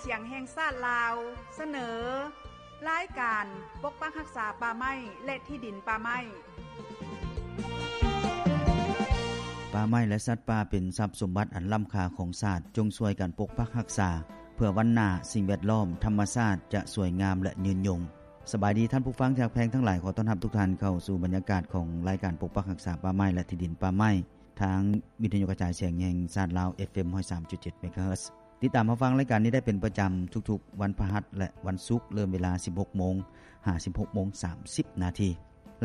ສຽງແຫ່ງຊາດລາວ ສະເໜີ ລາຍການປົກປັກຮັກສາປ່າໄມ້ ແລະ ທີ່ດິນປ່າໄມ້. ປ່າໄມ້ ແລະ ສັດປ່າເປັນຊັບສົມບັດອັນລ້ຳຄ່າຂອງຊາດ, ຈົ່ງຊ່ວຍກັນປົກປັກຮັກສາ ເພື່ອວັນໜ້າສິ່ງແວດລ້ອມ ທຳມະຊາດຈະສວຍງາມ ແລະ ຍືນຍົງ. ສະບາຍດີທ່ານຜູ້ຟັງທີ່ຮັກແພງທັງຫຼາຍ, ຂໍຕ້ອນຮັບທຸກທ່ານເຂົ້າສູ່ບັນຍາກາດຂອງລາຍການປົກປັກຮັກສາປ່າໄມ້ ແລະ ທີ່ດິນປ່າໄມ້ ທາງວິທະຍຸກະຈາຍສຽງແຫ່ງຊາດລາວ ເອັຟເອັມ ຮ້ອຍສາມຈຸດເຈັດ ເມກາເຮີດ. ຕິດຕາມຮັບຟັງລາຍການນີ້ໄດ້ເປັນປະຈຳທຸກໆວັນພະຫັດ ແລະ ວັນສຸກ, ເລີ່ມເວລາ ສິບຫົກໂມງ ຫາ ສິບຫົກໂມງ ສາມສິບນາທີ.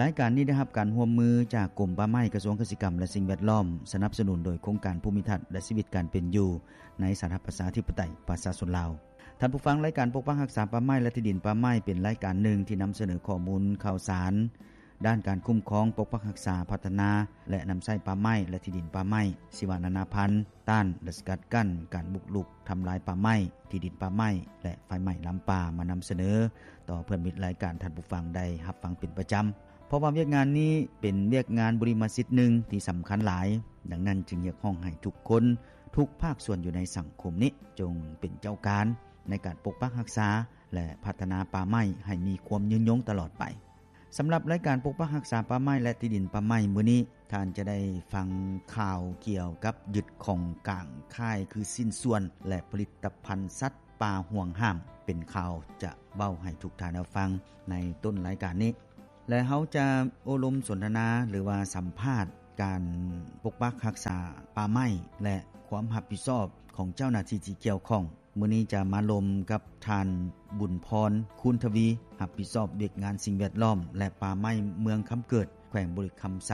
ລາຍການນີ້ໄດ້ຮັບການຮ່ວມມືຈາກກົມປ່າໄມ້, ກະຊວງກະສິກຳ ແລະ ສິ່ງແວດລ້ອມ, ສະໜັບສະໜູນໂດຍໂຄງການພູມິທັດ ແລະ ຊີວິດການເປັນຢູ່ໃນສາທາລະນະລັດ ປະຊາຊົນລາວ. ທ່ານຜູ້ຟັງ, ລາຍການປົກປັກຮັກສາປ່າໄມ້ ແລະ ທີ່ດິນປ່າໄມ້ ເປັນລາຍການໜຶ່ງທີ່ນຳສະເໜີຂໍ້ມູນຂ່າວສານ ດ້ານການຄຸ້ມຄອງ, ປົກປັກຮັກສາ, ພັດທະນາ ແລະ ນຳໃຊ້ປ່າໄມ້ ແລະ ທີ່ດິນປ່າໄມ້, ຊີວະນານາພັນ, ຕ້ານ ແລະ ສະກັດກັ້ນການບຸກລຸກທຳລາຍປ່າໄມ້, ທີ່ດິນປ່າໄມ້ ແລະ ໄຟໄໝ້ລຳປ່າ ມານຳສະເໜີຕໍ່ເພື່ອນມິດລາຍການທ່ານຜູ້ຟັງໄດ້ຮັບຟັງເປັນປະຈຳ. ເພາະວ່າວຽກງານນີ້ເປັນວຽກງານບຸລິມະສິດໜຶ່ງທີ່ສຳຄັນຫຼາຍ, ດັ່ງນັ້ນຈຶ່ງຮຽກຮ້ອງໃຫ້ທຸກຄົນ, ທຸກພາກສ່ວນຢູ່ໃນສັງຄົມນີ້ ຈົ່ງເປັນເຈົ້າການໃນການປົກປັກຮັກສາ ແລະ ພັດທະນາປ່າໄມ້ໃຫ້ມີຄວາມຍືນຍົງຕະຫຼອດໄປ. ສຳລັບລາຍການປົກປັກຮັກສາປ່າໄມ້ ແລະ ທີ່ດິນປ່າໄມ້ມື້ນີ້, ທ່ານຈະໄດ້ຟັງຂ່າວກ່ຽວກັບຍຶດຂອງກາງຄ້າຍຄືຊິ້ນສ່ວນ ແລະ ຜະລິດຕະພັນສັດປ່າຫວງຫ້າມ. ເປັນຂ່າວຈະເວົ້າໃຫ້ທຸກທ່ານໄດ້ຟັງໃນຕົ້ນລາຍການນີ້ ແລະ ເຮົາຈະໂອ້ລົມສົນທະນາ ຫຼືວ່າສຳພາດການປົກປັກຮັກສາປ່າໄມ້ ແລະ ຄວາມຮັບຜິດຊອບຂອງເຈົ້າໜ້າທີ່ທີ່ກ່ຽວຂ້ອງ. ມື້ນີ້ຈະມາລົມກັບທ່ານ ບຸນພອນ ຄູນທະວີ ຮັບຜິດຊອບວຽກງານສິ່ງແວດລ້ອມ ແລະ ປ່າໄມ້ ເມືອງຄຳເກີດ ແຂວງບໍລິຄຳໄຊ,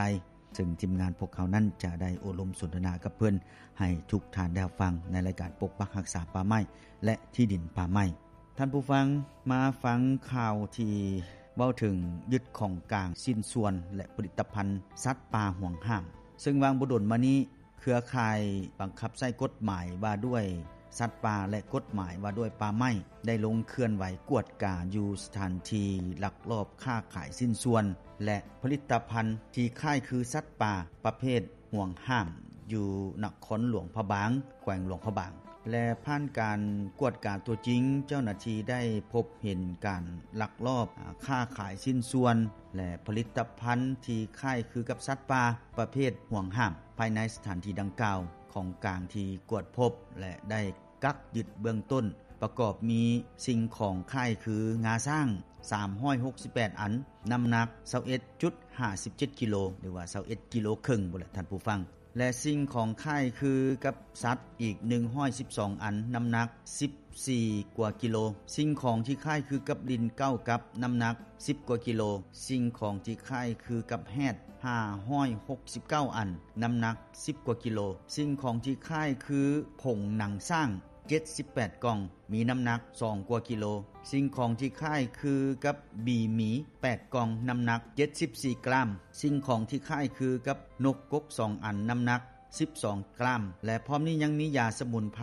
ເຊິ່ງທີມງານພວກເຮົານັ້ນຈະໄດ້ໂອ້ລົມສົນທະນາກັບເພິ່ນໃຫ້ທຸກທ່ານໄດ້ຮັບຟັງໃນລາຍການປົກປັກຮັກສາປ່າໄມ້ ແລະ ທີ່ດິນປ່າໄມ້. ທ່ານຜູ້ຟັງ, ມາຟັງຂ່າວທີ່ເວົ້າເຖິງຍຶດຂອງກາງຊິ້ນສ່ວນ ແລະ ຜະລິດຕະພັນສັດປ່າຫວງຫ້າມ, ເຊິ່ງວ່າງບໍ່ດົນມານີ້ ເຄືອຂ່າຍບັງຄັບໃຊ້ກົດໝາຍວ່າດ້ວຍສັດປ່າ ແລະ ກົດໝາຍວ່າດ້ວຍປ່າໄມ້ ໄດ້ລົງເຄື່ອນໄຫວກວດກາຢູ່ສະຖານທີ່ລັກລອບຄ້າຂາຍຊິ້ນສ່ວນ ແລະ ຜະລິດຕະພັນທີ່ຄ້າຍຄືສັດປ່າປະເພດຫວງຫ້າມ ຢູ່ນະຄອນຫຼວງພະບາງ, ແຂວງຫຼວງພະບາງ ແລະ ຜ່ານການກວດກາຕົວຈິງ, ເຈົ້າໜ້າທີ່ໄດ້ພົບເຫັນການລັກລອບ ອາ ຄ້າຂາຍຊິ້ນສ່ວນ ແລະ ຜະລິດຕະພັນທີ່ຄ້າຍຄືກັບສັດປ່າປະເພດຫວງຫ້າມ ພາຍໃນສະຖານທີ່ດັ່ງກ່າວ. ຂອງກາງທີ່ກວດພົບ ແລະ ໄດ້ກັກຍຶດເບື້ອງຕົ້ນ ປະກອບມີສິ່ງຂອງຄ້າຍຄືງາຊ້າງ ສາມຮ້ອຍຫົກສິບແປດອັນ, ນ້ຳໜັກ ຊາວເອັດຈຸດຫ້າສິບເຈັດກິໂລ ຫຼືວ່າ ຊາວເອັດກິໂລເຄິ່ງພຸ້ນແຫຼະທ່ານຜູ້ຟັງ ແລະ ສິ່ງຂອງຄ້າຍຄືກັບສັດອີກ ໜຶ່ງຮ້ອຍສິບສອງອັນ, ນ້ຳໜັກ ສິບສີ່ກວ່າກິໂລ, ສິ່ງຂອງທີ່ຄ້າຍຄືກັບລິ້ນເກົ້າກັບ, ນ້ຳໜັກ ສິບກວ່າກິໂລ, ສິ່ງຂອງທີ່ຄ້າຍຄືກັບແຮດ ຫ້າຮ້ອຍຫົກສິບເກົ້າອັນ, ນ້ຳໜັກ ສິບກວ່າກິໂລ, ສິ່ງຂອງທີ່ຄ້າຍຄືຜົງໜັງຊ້າງ ເຈັດສິບແປດກ່ອງ, ມີນ້ຳໜັກ ສອງກວ່າກິໂລ, ສິ່ງຂອງທີ່ຄ້າຍຄືກັບບີໝີ ແປດກ່ອງ, ນ້ຳໜັກ ເຈັດສິບສີ່ກຣາມ, ສິ່ງຂອງທີ່ຄ້າຍຄືກັບນົກກົກ ສອງອັນ, ນ້ຳໜັກ ສິບສອງກຣາມ ແລະ ພ້ອມນີ້ຍັງມີຢາສະໝຸນໄພ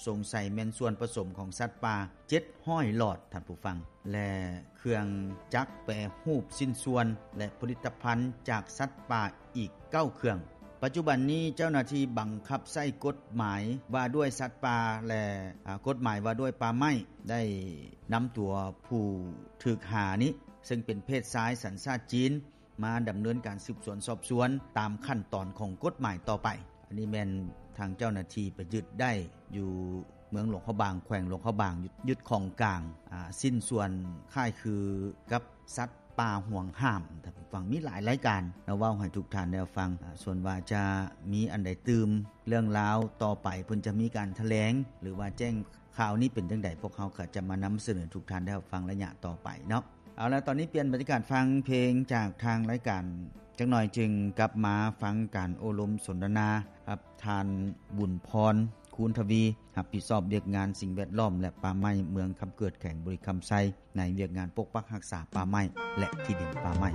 ສົງໄສແມ່ນສ່ວນປະສົມຂອງສັດປ່າ ເຈັດຮ້ອຍຫຼອດ, ທ່ານຜູ້ຟັງ, ແລະ ເຄື່ອງຈັກແປຮູບຊິ້ນສ່ວນ ແລະ ຜະລິດຕະພັນຈາກສັດປ່າອີກເກົ້າເຄື່ອງ. ປັດຈຸບັນນີ້ເຈົ້າໜ້າທີ່ບັງຄັບໃຊ້ກົດໝາຍວ່າດ້ວຍສັດປ່າ ແລະ ອາ ກົດໝາຍວ່າດ້ວຍປ່າໄມ້ ໄດ້ນຳຕົວຜູ້ຖືກຫານີ້ ເຊິ່ງເປັນເພດຊາຍສັນຊາດຈີນ ມາດຳເນີນການສືບສວນສອບສວນຕາມຂັ້ນຕອນຂອງກົດໝາຍຕໍ່ໄປ. ອັນນີ້ແມ່ນທາງເຈົ້າໜ້າທີ່ໄປຍຶດໄດ້ຢູ່ເມືອງຫຼວງພະບາງ, ແຂວງຫຼວງພະບາງ, ຍຶດຂອງກາງ ອາ ຊິ້ນສ່ວນຄ້າຍຄືກັບສັດປ່າຫວງຫ້າມ. ທ່ານຜູ້ຟັງ, ມີຫຼາຍລາຍການມາເວົ້າໃຫ້ທຸກທ່ານໄດ້ຟັງ. ອາ ສ່ວນວ່າຈະມີອັນໃດຕື່ມ ເລື່ອງລາວຕໍ່ໄປ ເພິ່ນຈະມີການຖະແຫຼງ ຫຼືວ່າແຈ້ງຂ່າວນີ້ເປັນຈັ່ງໃດ, ພວກເຮົາກໍຈະມານຳສະເໜີທຸກທ່ານໄດ້ຮັບຟັງໄລຍະຕໍ່ໄປເນາະ. ເອົາລະ, ຕອນນີ້ປ່ຽນບັນຍາກາດຟັງເພງຈາກທາງລາຍການຈັກໜ່ອຍ, ຈຶ່ງກັບມາຟັງການໂອ້ລົມສົນທະນາກັບທ່ານ ບຸນພອນ ຄູນທະວີ, ຮັບຜິດຊອບວຽກງານສິ່ງແວດລ້ອມ ແລະ ປ່າໄມ້ ເມືອງຄຳເກີດ ແຂວງບໍລິຄຳໄຊ ໃນວຽກງານປົກປັກຮັກສາປ່າໄມ້ ແລະ ທີ່ດິນປ່າໄມ້.